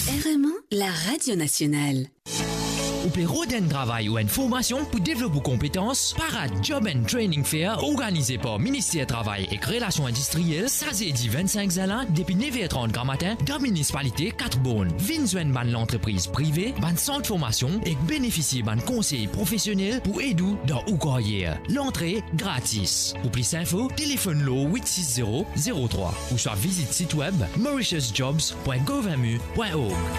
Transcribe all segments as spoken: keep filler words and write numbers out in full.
R M A, la radio nationale. Ou pe rod enn travay ou enn formasion pou devlop ou konpetans? Pa rat Job and Training Fair, organize par Minister Travay ek Relasion Indistriel, sa zedi vinn-sink zin la, depi nef er trant gramatin, dan minisipalite Kat Born. Vinn zwenn bann lantrepriz prive, bann sant formasion ek benefisie bann konsey profesionel pou ed ou dan ou karyer. Lantre gratis. Pou plis info, telefonn lor wit sis zero zero trwa ouswa vizit sit web mauritius jobs pwin gov M U pwin org.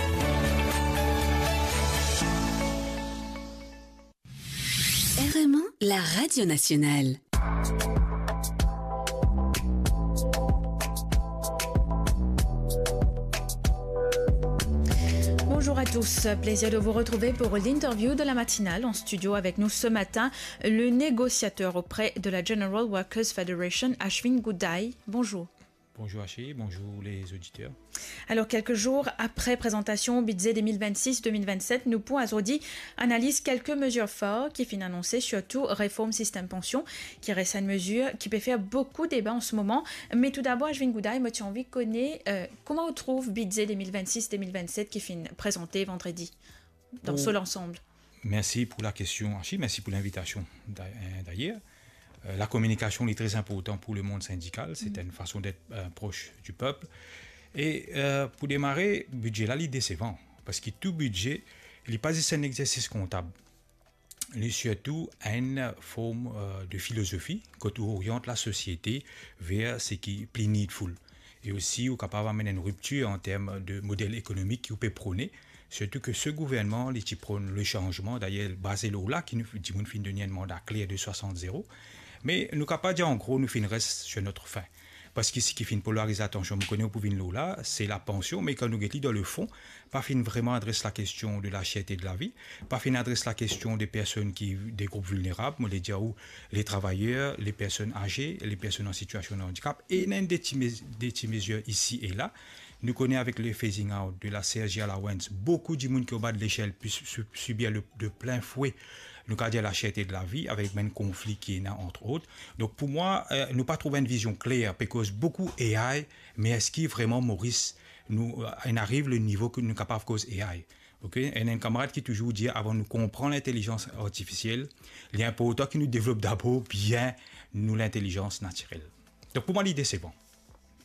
R M A, la radio nationale. Bonjour à tous, plaisir de vous retrouver pour l'interview de la matinale. En studio avec nous ce matin, le négociateur auprès de la General Workers Federation, Ashwin Goudai. Bonjour. Bonjour Ashi, bonjour les auditeurs. Alors, quelques jours après présentation au budget deux mille vingt-six deux mille vingt-sept, nou pou azordi analiz kelke mezir for ki finn anonse, sirtou reform sistem pansion, ki res enn mezir ki pe fer boukou deba an se moman. Me toudabor, Ashwin Goudai, mo ti anvi kone, euh, kouma ou trouv bidze deux mille vingt-six deux mille vingt-sept ki finn prezante vandredi, dan so lansanm? Mersi pou la kestion, Ashi. Mersi pou linvitasion, da-, euh, dayer. Euh, la kominikasion, li tre inportan pou lemond sindikal. Se enn fason d'être, euh, proche du peuple. E, euh, pou demare, bidze la, li desevan. Parski tou bidze, li pa zis enn egzersis kontab. Li sirtou enn form, euh, de filozofi, kot ou oriant lasosiete ver seki pli needful. E osi, ou kapav amenn enn riptir an term de model ekonomik ki ou pe prone, sirtou ke se gouvernman, li ti pronn le sanzman, dayer, baze lor la ki nou, dimoun finn donn enn manda kler de swasant zero. Me nou kapav dir, an gro, nou finn res sur notre faim. Parski seki finn polariz latansion, mo kone ou pou vinn lor la, se lapansion, me kan nou get li dan lefon, pa finn vreman adres lakestion de la cherte de lavi, pa finn adres lakestion de personn ki, de group vilnerab, mo le dir ou, le travayer, le personn aze, le personn an sitiasion de andikap, e ena enn de ti mez-, de ti mezir isi e la. Nou kone avek le phasing out de la C S G allowance, boukou dimoun ki anba de lesel pe su-, su-, sibir le, de plin fwe, nou kapav dir, la cherte de lavi, avek bann konfli ki ena, entre autres. Donk pou mwa, euh, nou pa trouv enn vizion kler, pe koz boukou A I, me eski vreman Moris, nou, euh, inn ariv le nivo ki nou kapav koz A I? Ok? Ena enn kamarad ki touzour dir, avan nou konpran lintelizans artifisiel, li inportan ki nou devlop dabor bien nou lintelizans natirel. Donk pou mwa, li desevan.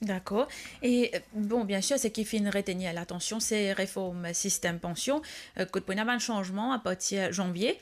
Dakor. E, euh, bon, biensir, seki finn retenir latansion, se reform sistem pansion, euh, kot pou ena bann sanzman apartir zanvie.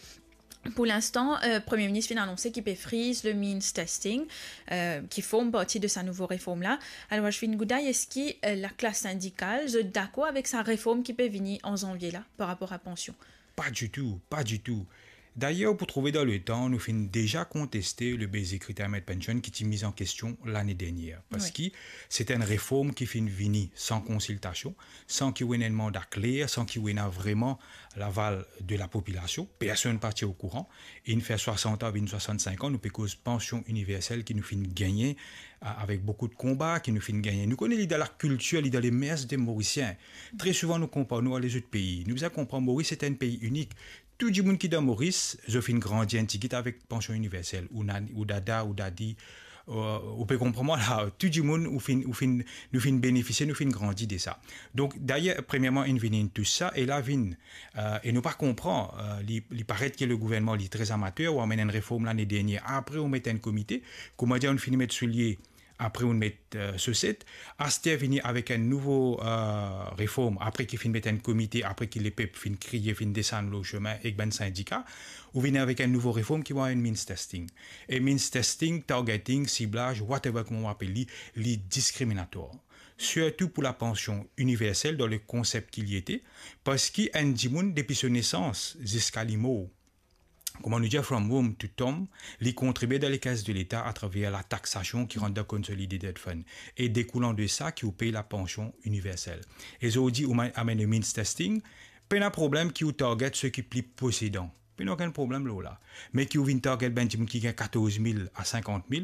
Pou linstan, euh, Premie Minis finn anonse ki pe friz le means testing, euh, ki form parti de sa nouvo reform la. Alor, Ashwin Goudai, eski, euh, laklas sindikal, zot dakor avek sa reform ki pe vini an zanvie la, par rapor a pansion? Pa ditou, pa ditou. Dayer, pou trouve dan letan, nou finn deza konteste le basic retirement pension ki ti miz an kestion lane dernie. Wi. Parski se enn reform ki finn vini san konsiltasion, san ki ou ena enn manda kler, san ki ou ena vreman laval de lapopilasion, personn pa ti okouran, e inn fer swasant an, vinn swasant-sink an, nou pe koz pansion iniversel ki nou finn gagne, a-, avek boukou de konba ki nou finn gagne. Nou kone li dan lakiltir, li dan lemers de Morisien. Tre souvan nou konpar nou ar lezot pei. Nou bizin konpran Moris se enn pei inik. Tou dimoun ki dan Moris, zot finn grandi enn tigit avek pansion iniversel, ou nan-, ou dada, ou dadi, euh, ou pe konpran mwa la, tou dimoun ou finn, ou finn, nou finn benefisie, nou finn grandi de sa. Donk, dayer, premierman, inn vinn inn tous sa, e la vinn, euh, e nou pa konpran, euh, li, li paret ki le gouvernman, li tre amater, ou amenn enn reform lane dernie, apre ou met enn komite, koumadir ou finn met soulie, apre ou met, euh, soset, aster vini avek enn nouvo, euh, reform, apre ki finn met enn komite, apre ki lepep finn kriye, finn desann lor sime ek bann sindika, ou vini avek enn nouvo reform ki mwa enn means testing. E means testing, targeting, siblaz, whatever kouma ou apel li, li diskriminatwar. Sirtou pou lapansion iniversel dan le konsep ki li ete, parski enn dimoun depi so nesans ziska li mor, kouma nou dir, from womb to tomb, li kontribie dan lekes de Leta atraver lataxasion ki rant dan Consolidated Fund, e dekoulan de sa ki ou pey lapansion iniversel. E zordi ou ma-, amenn means testing, pena problem ki ou target seki pli posedan. Pena okenn problem lor la. Me ki ou vinn target bann dimoun ki gagn katorz mil a sinkant mil,